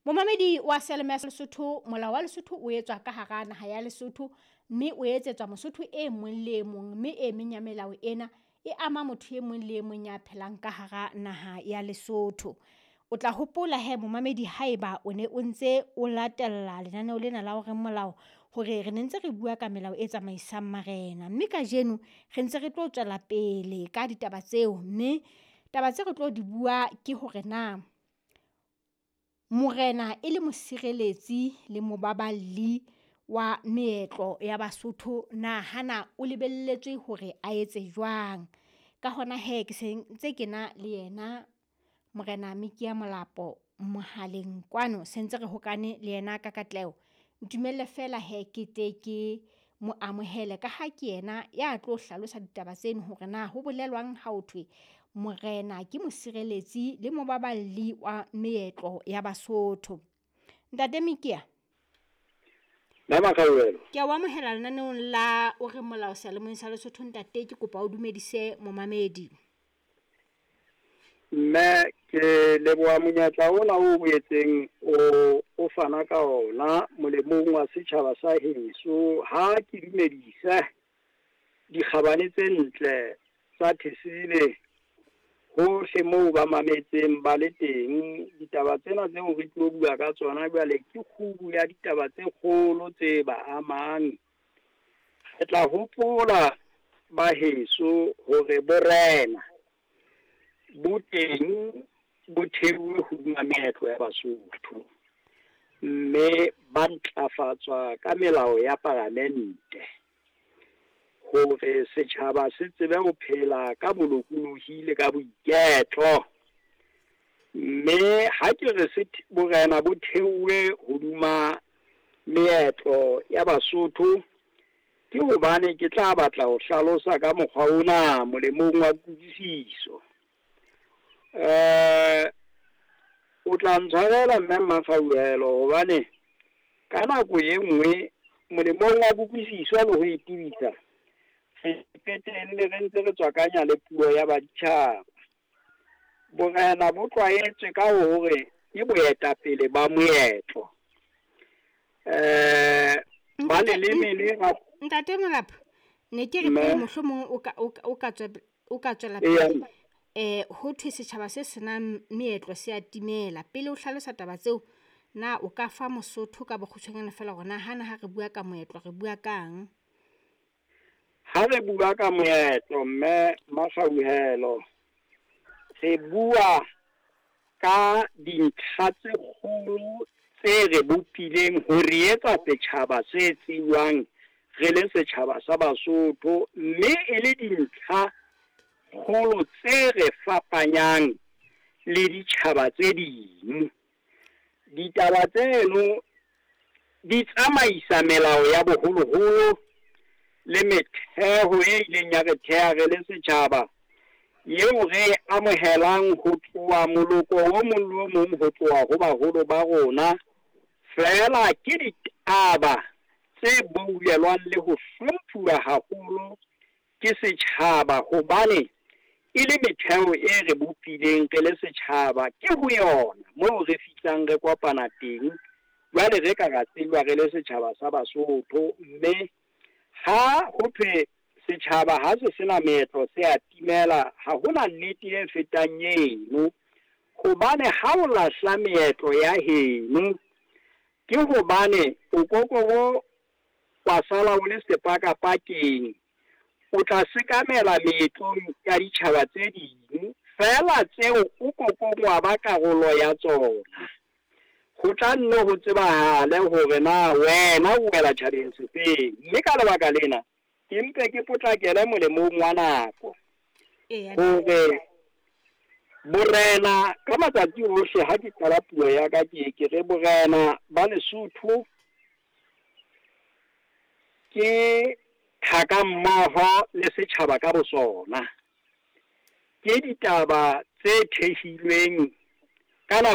Momamedi wa seyalemoya sa Lesotho, molao wa Lesotho o etswa ka hara naha ya Lesotho, mme o etsetswa Mosotho e mong le e mong, mme e meng ya melao ena e ama motho e mong le e mong ya phelang ka hara naha ya Lesotho. O tla hopola hee momamedi haeba o ne o ntse o latella lenaneo lena la O Reng Molao hore re ne ntse re bua ka melao e tsamaisang marena, mme kajeno re ntse re tlo tswela pele ka ditaba tseo, mme taba tse re tlo di bua ke hore na morena e le mosireletsi le mobaballi wa meetlo ya Basotho na hana o lebelletswe hore a etse jwang. Ka hona hee ke se ntse ke na le yena Morena Mikia Molapo mohaleng kwano se ntse re hokane le yena ka katleho. Ntumelle feela hee ke tle ke mo amohele ka ha ke yena ya tlo hlalosa ditaba tseno hore na ho bolelwang ha ho thwe morena ke mosireletsi le mobaballi wa meetlo ya Basotho. Ntate Mikia. Mme Makgaolelo. Ke a o amohela lenaneong la O Reng Molao seyalemoyeng sa Lesotho ntate, ke kopa o dumedise momamedi. Mme ke leboha monyetla ona o boetseng o fana ka ona molemong wa setjhaba sa heso. Ha ke dumedise dikgabane tse ntle tsa Thesele hohle moo ba mametseng ba le teng. Ditaba tsena tseo re tlo bua ka tsona jwale ke kgubu ya ditaba tse kgolo tse ba amang. Re tla hopola ba heso hore borena bo teng bo theuwe hodima meetlo ya Basotho, mme ba ntlafatswa ka melao ya palamente hore setjhaba se tsebe ho phela ka bolokolohi le ka boiketlo. Mme ha ke re borena bo theuwe hodima meetlo ya Basotho, ke hobane ke tla batla ho hlalosa ka mokgwa ona molemong wa kutlwisiso. O tla ntshwarela mme Mmakgauhelo hobane ka nako e nngwe molemong wa kutlwisiso le ho e tebisa, re qetelle re ntse re tswakanya le puo ya baditjhaba. Borena bo tlwaetswe ka hore ke boetapele ba moetlo. Ba leleme le Ntate Molapo, ne ke re pele mohlomong o ka tswela pele. Ho thwe setjhaba se senang meetlo se a timela. Pele o hlalosa taba tseo, na o ka fa Mosotho ka bokgutshwanyane feela hore na hana ha re bua ka moetlo re bua kang? Ha re bua ka moetlo mme Makgauhelo, re bua ka dintlha tse kgolo tse re bopileng ho re etsa setjhaba se tsejwang re le setjhaba sa Basotho, mme e le dintlha kgolo tse re fapanyang le ditjhaba tse ding. Ditaba tseno di tsamaisa melao ya boholoholo le metheo e ileng ya re theha re le setjhaba, eo re amohelang ho tloha moloko o mong le o mong ho tloha ho baholo ba rona. Feela ke ditaba tse boulelwang le ho hlomphuwa haholo ke setjhaba, hobane e le metheo e re bopileng re le setjhaba. Ke ho yona moo re fihlang re kopana teng, jwale re ka ra tsejwa re le setjhaba sa Basotho. Mme ha ho thwe setjhaba ha se sena meetlo se a timela, ha hona nnete e fetang eno, hobane ha o lahla meetlo ya heno ke hobane o kokobo wa sala o le sepakapakeng, o tla sekamela meetlong ya ditjhaba tse ding, feela tseo o kokong wa ba karolo ya tsona. Ho tla nne ho tsebahale hore na wena o wela tjhabeng sefeng. Mme ka lebaka lena ke mpe ke potlakele molemong wa nako hore borena ka matsatsi ohle, ha ke qala puo ya ka ke ke re borena ba Lesotho ke thaka mmoho le setjhaba ka bosona. Ke ditaba tse thehilweng ka nako